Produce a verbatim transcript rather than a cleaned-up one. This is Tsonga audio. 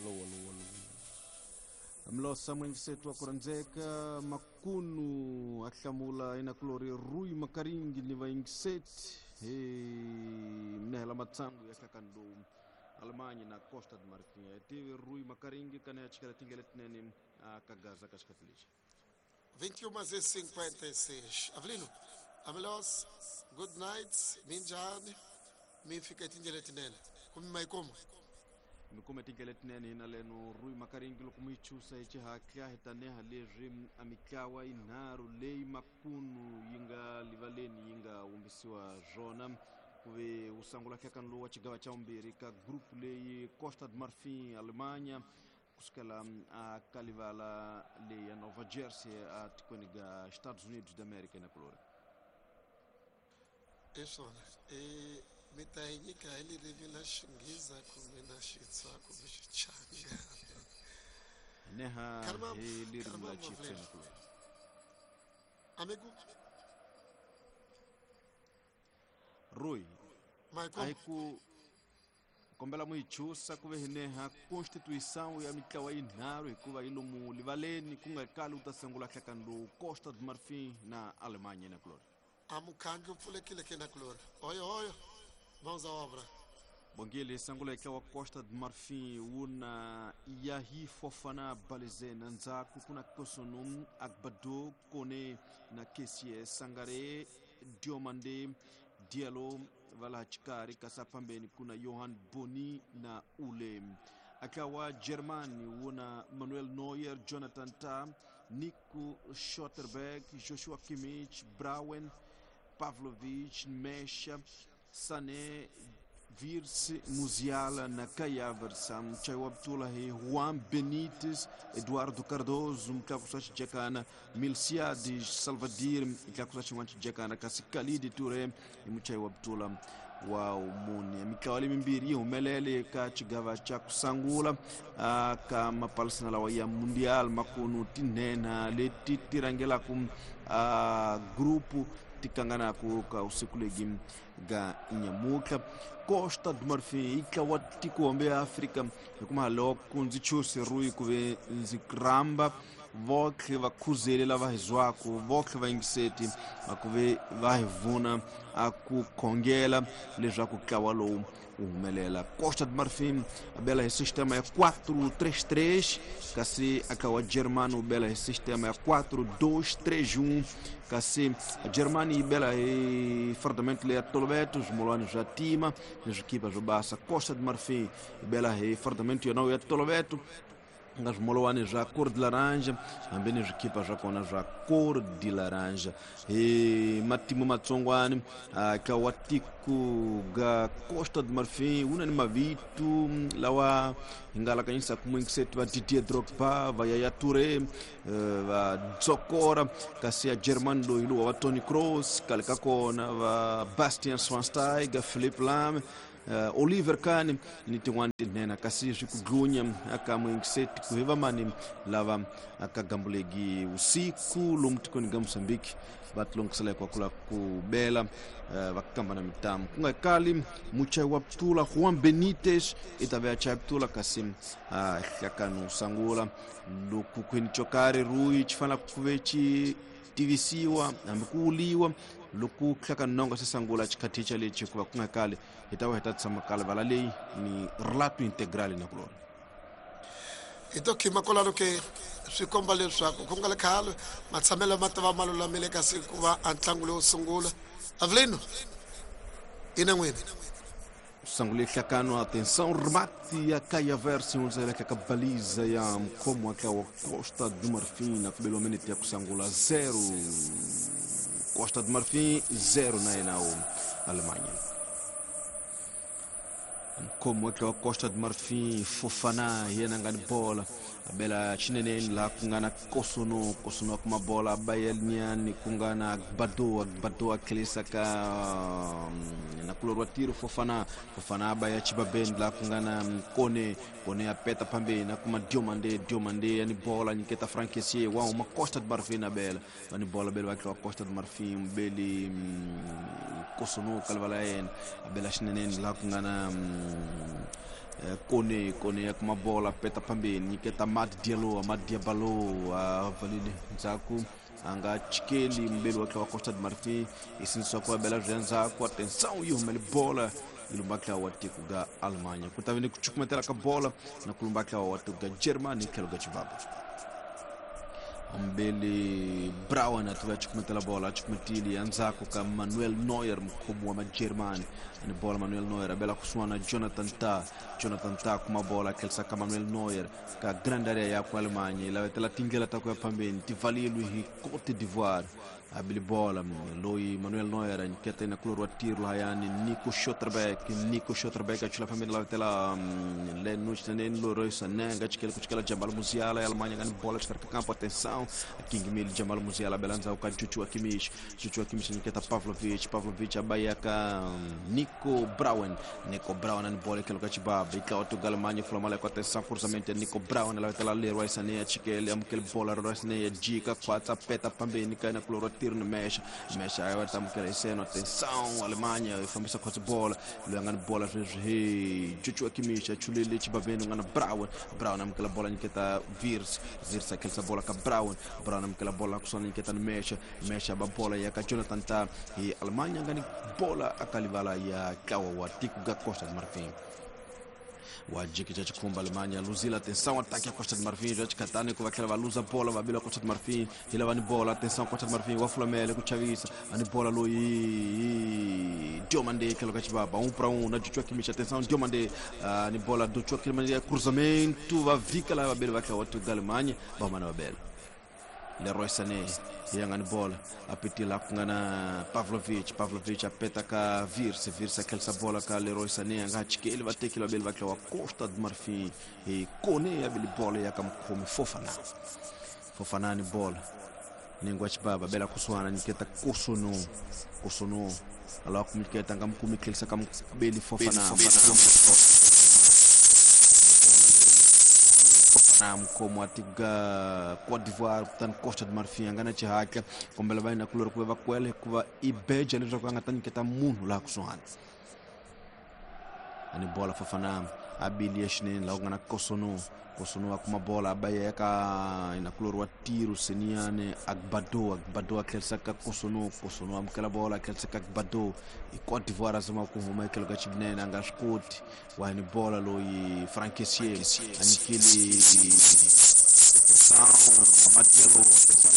Alô, alô, alô. Mlosa mwingisetu wa kuranzeka makunu ahlamula inakulori Rui Makaringi ni vaingiseti hey, mnehela matsangu ya hlakando Alemanha na Costa de Marfim. Tive Rui Makaringi kana chikala tingele tinene akagaza kashikatilisha vinte e uma e cinquenta e seis. Avelino, Amelos, good night, minjani, mi fica tingele tinene. Kumi maikomo. Mikome tingele tinene hina leno Rui Makaringi loko muichusa hi xihatla hi taneha leswi a mitlawa yinharhu leyi makunu yi nga livaleni yi nga humbisiwa swona kuve wu sungula nhlekani lowu wa xigava xa vumbirhi ka group leyi Costa de Marfim Alemanha kusukela a ka livala leyi ya Nova Jersey a tikweni ga Estados Unidos da América na kulori. I swona i mi ta yi nyika hi ririmi la Xinghezi kumbe na Xitsonga kumbe Xichangana. Neha hi ririmi la Xitsonga na kulori. Amigo Rui, a ku kombela muyichusa ku ve hineha constituição ya mitlawa yinharhu hikuva yi lomu livaleni ku nga kali wu ta sungula nhlekani lowu Costa de Marfim na Alemanha na kulori. A mukhangi wu pfulekile ke na kulori. Oyo oyo, mãos à obra. Bongile sangula ntlawa Costa de Marfim wu na Yahi Fofana Balizena ndzhaku ku na Kosono Agbado Kone na Kessie Sangare Diomande Diallo vala xikarhi kasi phambeni kuna Johan Boni na Ule. Akawa Germany wuna Manuel Neuer, Jonathan Tah, Nico Schotterberg, Joshua Kimmich, Brauen, Pavlovic, Mesha, Sané, Wirtz, Musiala na Kai Havertz, Mchayo Abdullah, Juan Benítez, Eduardo Cardoso, Mtlakusa Xijakana, Milciades, Salvadir, Mtlakusa xin'wana Xijakana, kasi Khalid Touré i Mchayo Abdullah wa mune. Mitlawa leyi mimbirhi yi humelele ka xigava xa ku sungula ka mapalisana lawa ya Mundial makunu tinhenha leti ti rhangelaka grupu ti kanganaku ka usiku legi ga nyamutlha. Costa do Marfim yi tlawa tiko ya Afrika hikuva loko ndzi chuse Rui ku ve ndzi rhamba votlhe va khuzele lava hi zwaku votlhe va yingiseti va ku ve va hi vuna a ku khongela leswaku ntlawa lowu wu humelela. Costa do Marfim a bela hi sistema ya quatro três três, kasi a wa Germany wu bela hi sistema ya quatro dois três um, kasi a Germany yi bela hi fardamento leya toloveto swimolwani swa tima ni swikipa swo basa. Costa do Marfim yi bela hi fardamento yona ya toloveto nga swimolwani swa cor de laranja hambi ni swikipa swa kona swa cor de laranja. Hi matimu matsongwani ka wa tiko ga Costa do Marfim wu na ni mavito lawa hi nga alakanyisaka muingiseti va Didier Drogba, va Yaya Touré, va Dzokora, kasi ya Germany loyi lowa va Toni Kroos, khale ka kona va Bastian Schweinsteiger, Philipp Lahm, Uh, Oliver Kahn ni tin'wana tinhenha kasi swi ku dlunya aka muingiseti ku hi vamani lava aka gambulegi usiku lomu tikweni ga Mozambique va tilongisela hinkwaku la ku bela uh, va kamba na mitamu ku nga kali muchayi wa ptula Juan Benítez i ta ve a chaya ptula kasi uh, hlakano sungula loko khweni xo karhi Rui xi fanele ku ve xi tivisiwa hambi ku wuliwa loko hlakanonga se sungula xikhathicha lexi hikuva ku nga kali hi ta va hi ta tshama kala vala leyi ni relato integral na kulona. Hi to khima kwalano ke swi komba leswaku ku nga le khale matshamelo ma ta va ma lulamile kasi ku va a ntlangu lowo sungula. Avelino, ina n'wini. Sangule hlakano, atenção, remate ya Kai Havertz hundzela ka baliza ya mkhomo wa wa Costa do Marfim na kubeliwa minute ya kusangula zero Costa do Marfim zero na yena Alemanha. Mkhomo wa Costa do Marfim Fofana yena nga ni bola abela xineneni laha ku nga na Kosono Kosono kuma bola Bayelnian ku nga na Agbado Agbado a tlherisa ka na kulori wa tiro Fofana Fofana a baya Chibabeni laha ku nga na Kone Kone a peta phambeni a kuma Diomande Diomande ya ni bola nyiketa Frank Kessie wa huma Costa do Marfim a bela va ni bola bela va tliwa Costa do Marfim beli Kosono ka livala ya yena a bela xineneni laha ku nga na Kone Kone ya kuma bola peta pambeni nyiketa Amad Diallo Amad Diallo avalile ndzhaku a nga chikeli mbeli wa tlawa Costa de Marfim isinisiwa ku bela bya ndzhaku atenção yi humele bola yi lumba tlawa wa tiko ga Alemanha ku ta ve ni ku cukumetela ka bola na ku lumba tlawa wa tiko ga Germany tlhelo ga Chibaba mbeli Brown a tiva cukumetela bola a cukumetile ya ndzhaku ka Manuel Neuer mukhomi wa Majeremani ani bola Manuel Neuer a bela kusuhana Jonathan Tah Jonathan Tah kuma bola a tlherisa ka Manuel Neuer ka grand area ya ku Alemanha yi lavetela tindlela ta ku ya phambeni ti valeliwi hi Cote d'Ivoire a bili bola loyi Manuel Neuer a nyiketa ina kulori wa tiro lahayani Nico Schlotterbeck Nico Schlotterbeck a chula phambeni lavetela Leno xinene Leroy Sané nga chikela ku chikela Jamal Musiala ya Alemanha nga ni bola xikarhi ka kampo atenção a kingimile Jamal Musiala bela ndzhaku ka Joshua Kimmich Joshua Kimmich a nyiketa Pavlovic Pavlovic a ba ya ka Nico Brown Nico Brown ani bola etlhelo ka xibaba yi tlawa tuga Alemanha fula mali ya ku atenção cruzamento ya Nico Brown lavetela Leroy Sané a chikele amukele bola Leroy Sané ya jika khwatsa peta phambeni ka yena kulori wa tiro ni Mesha Mesha a va ta amukela hi seno atenção Alemanha yi fambisa khwatsi bola loyi a nga ni bola sweswi hi Joshua Kimmich a chulele xibaveni u nga na Brown Brown amukela bola nyiketa Wirtz Wirtz a khelisa bola ka Brown Brown amukela bola kusuhana nyiketa ni Mesha Mesha ba bola ya ka Jonathan Tah hi Alemanha nga ni bola aka livala ya tlawa wa tiko ga Costa de Marfim wa jikija chikhumba Alemanha luzile atenção ataque a Costa de Marfim já chikatani ku va tlhela va luza bola va bila Costa de Marfim hi lava ni bola atenção Costa de Marfim wa fulamele ku chavisa a ni bola loyi Diomande tlhelo ka xibaba um para um na Joshua Kimmich atenção Diomande uh, ni bola Joshua Kimmich cruzamento va vika la vabeli va tlhela wa tiko ga Alemanha va huma na vabela Leroy Sané ya nga ni bola a petela ku nga na Pavlovic Pavlovic a peta ka Wirtz Wirtz a khelisa bola ka Leroy Sané a nga chikeli va tekile vabeli va tlawa Costa de Marfim hi Kone ya beli bola ya ka mukhomi Fofana Fofana ni bola ningo wa xibaba bela kusuhana nyiketa Kossounou Kossounou alawa ku nyiketa nga mukumi khelisa ka mubeli Fofana na mukhomi wa tiko ga Cote d'Ivoire kutani Costa de Marfim a nga na xihatla kombela va yena kulori ku va va kwele hikuva i beja leswaku a nga ta nyiketa munhu laha kusuhani ani bola Fofana a bili ya xinene laha ku nga na Kossounou Kossounou a kuma bola a ba ya ka ina kulori wa tiro Seniane Agbado Agbado a tlherisa ka Kossounou Kossounou amukela bola a tlherisa ka Agbado i Cote d'Ivoire a zama ku huma etlhelo ka xinene a nga swi koti wa ni bola loyi Franck Kessié a nyikile atenção Amad Diallo atenção